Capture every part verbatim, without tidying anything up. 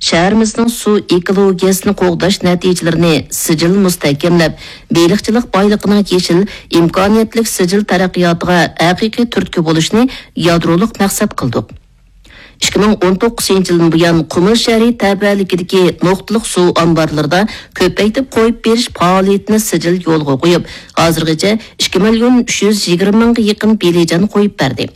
شەھىرىمىزنىڭ سۇ ئېكولوگىيەسىنى قوغداش نەتىجىلىرىنى سىجىل مۇستەھكەملەپ، بېلىقچىلىق بايلىقىنىڭ يېشىل، ئىمكانىيەتلىك سىجىل تەرەققىياتىغا ھەقىقىي تۈرتكە بولۇشنى يادرولۇق مەقسەت قىلدۇق. ئىككى مىڭ ئون توققۇزىنچى يىلدىن بۇيان، قۇمۇل شەھىرى تەۋەلىكىدىكى نۇقتىلىق سۇ ئامبارلىرىدا كۆپەيتىپ قويۇپ بېرىش پائالىيىتىنى سىجىل يولغا قويۇپ، ھازىرغىچە ئىككى مىليون ئۈچ يۈز يىگىرمە مىڭغا يېقىن بېلىجان قويۇپ بەردى.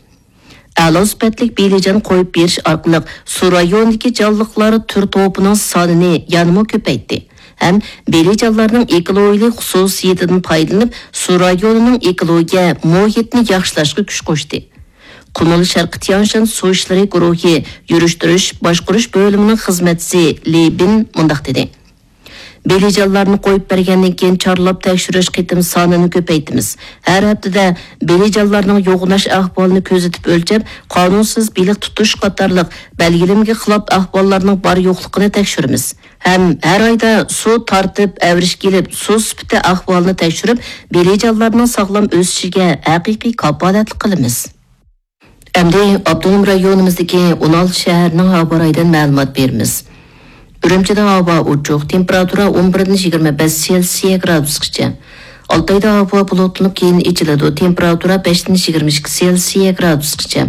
ئەلا سۈپەتلىك بېلىجان قويۇپ بېرىش ئارقىلىق سۇ رايونىدىكى جانلىقلار تۈر توپىنىڭ سانىنى يەنىمۇ كۆپەيتتى ھەم بېلىجانلارنىڭ ئېكولوگىيەلىك خۇسۇسىيىتىدىن پايدىلىنىپ، سۇ رايونىنىڭ ئېكولوگىيە مۇھىتىنى ياخشىلاشقا كۈچ قوشتى. قۇمۇل شەرقىي تيانشان سۇ ئىشلىرى گۇرۇھى يۈرۈشتۈرۈش باشقۇرۇش بۆلۈمىنىڭ خىزمەتچىسى لى بىن مۇنداق دېدى: بېلىجانلارنى قويۇپ بەرگەندىن كېيىن چارلاپ تەكشۈرۈش قېتىم سانىنى كۆپەيتىمىز. ھەر ھەپتىدە بېلىجانلارنىڭ يوغىناش ئەھۋالىنى كۆزىتىپ ئۆلچەپ، قانۇنسىز بېلىق تۇتۇش قاتارلىق بەلگىلىمىگە خىلاپ ئەھۋاللارنىڭ بار يوقلۇقىنى تەكشۈرىمىز. ھەم ھەر ئايدا سۇ تارتىپ، ئەۋرىشكە ئېلىپ، سۇ سۈپىتى ئەھۋالىنى تەكشۈرۈپ، بېلىجانلارنىڭ ساغلام ئۆسۈشىگە ھەقىقىي كاپالەتلىك قىلىمىز. ئەمدى ئاپتونوم رايونىمىزدىكى ئون ئالتە شەھەرنىڭ ھاۋا رايىدىن مەلۇمات بېرىمىز. ئۈرۈمچىدە ھاۋا ئوچۇق، تېمپېراتۇرا ئون بىردىن يىگىرمە بەش سېلسىيە گرادۇسقىچە. ئالتايدا ھاۋا بۇلۇتلىنىپ، كېيىن ئېچىلىدۇ، تېمپېراتۇرا بەشتىن يىگىرمە ئىككى سېلسىيە گرادۇسقىچە.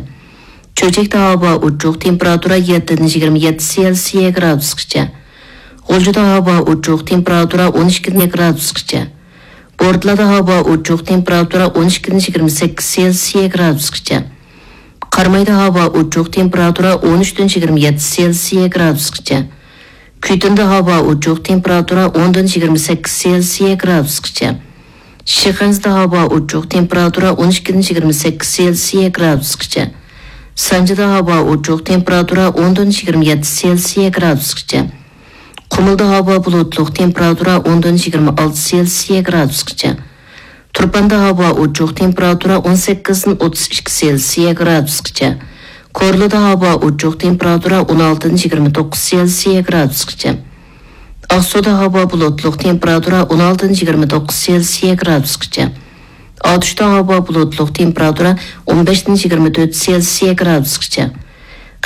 چۆچەكتە ھاۋا ئوچۇق، تېمپېراتۇرا يەتتىدىن يىگىرمە يەتتە سېلسىيە گرادۇسقىچە. غۇلجىدا ھاۋا ئوچۇق، تېمپېراتۇرا ئون ئىككىدىن گرادۇسقىچە. بورتالادا ھاۋا ئوچۇق، تېمپېراتۇرا ئون ئىككىدىن يىگىرمە سەككىز سېلسىيە گرادۇسقىچە. قارامايدا ھاۋا ئوچۇق، تېمپېراتۇرا ئون ئۈچتىن يىگىرمە يەتتە سېلسىيە گرادۇسقىچە. كۈيتۇندا ھاۋا ئوچۇق، تېمپېراتۇرا ئوندىن يىگىرمە سەككىز سېلسىيە گرادۇسقىچە. شىخەنزىدە ھاۋا ئوچۇق، تېمپېراتۇرا ئون ئىككىدىن يىگىرمە سەككىز سېلسىيە گرادۇسقىچە. سانجىدا ھاۋا ئوچۇق، تېمپېراتۇرا ئوندىن يىگىرمە يەتتە سېلسىيە گرادۇسقىچە. قۇمۇلدا ھاۋا بۇلۇتلۇق، تېمپېراتۇرا ئوندىن يىگىرمە ئالتە سېلسىيە گرادۇسقىچە. تۇرپاندا ھاۋا ئوچۇق، تېمپېراتۇرا ئون سەككىزدىن ئوتتۇز ئىككى سېلسىيە گرادۇسقىچە. كورلىدا ھاۋا ئوچۇق، تېمپېراتۇرا ئون ئالتىدىن يىگىرمە توققۇز سېلسىيە گرادۇسقىچە. ئاقسۇدا ھاۋا بۇلۇتلۇق، تېمپېراتۇرا ئون ئالتىدىن يىگىرمە توققۇز سېلسىيە گرادۇسقىچە. ئاتۇشتا ھاۋا بۇلۇتلۇق، تېمپېراتۇرا ئون بەشتىن يىگىرمە تۆت سېلسىيە گرادۇسقىچە.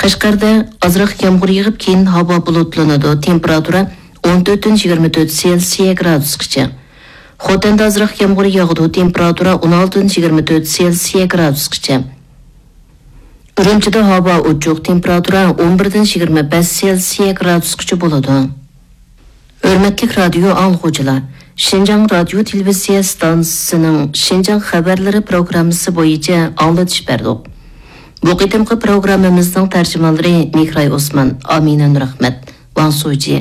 قەشقەردە ئازراق يامغۇر يېغىپ، كېيىن ھاۋا بۇلۇتلىنىدۇ، تېمپېراتۇرا ئون تۆتتىن يىگىرمە تۆت سېلسىيە گرادۇسقىچە. خوتەندە ئازراق يامغۇر ياغىدۇ، تېمپېراتۇرا ئون ئالتىدىن يىگىرمە تۆت سېلسىيە گرادۇسقىچە. ئۈرۈمچىدە ھاۋا ئوچۇق، تېمپېراتۇرا ئون بىردىن يىگىرمە بەش سېلسىيە گرادۇسقىچە بولىدۇ. ھۆرمەتلىك رادىيو ئاڭلىغۇچىلار، شىنجاڭ رادىيو تېلېۋىزىيە ئىستانسىسىنىڭ شىنجاڭ خەۋەرلىرى پروگراممىسى بويىچە ئاڭلىتىش بەردۇق. بۇ قېتىمقى پروگراممىمىزنىڭ تەرجىمانلىرى مېھراي ئوسمان، ئامىنە نۇرئەخمەت، ۋاڭ سۇجى،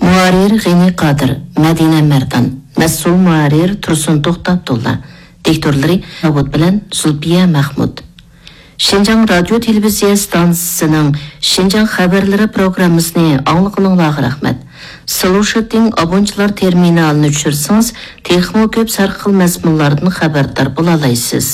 مۇھەررىر غېنى قادىر، مەدىنە مەردان، مەسئۇل مۇھەررىر تۇرسۇن توختى ئابدۇللا، دىكتورلىرى داۋۇت بىلەن زۇلپىيە مەخمۇت. شىنجاڭ رادىيو تېلېۋىزىيە ئىستانسىسىنىڭ شىنجاڭ خەۋەرلىرى پروگراممىسىنى ئاڭلىغىنىڭلارغا رەھمەت. سلۇشىتىڭ ئابونچىلار تېرمىنالىنى چۈشۈرسىڭىز، تېخىمۇ كۆپ ھەر خىل مەزمۇنلاردىن خەۋەردار بولالايسىز.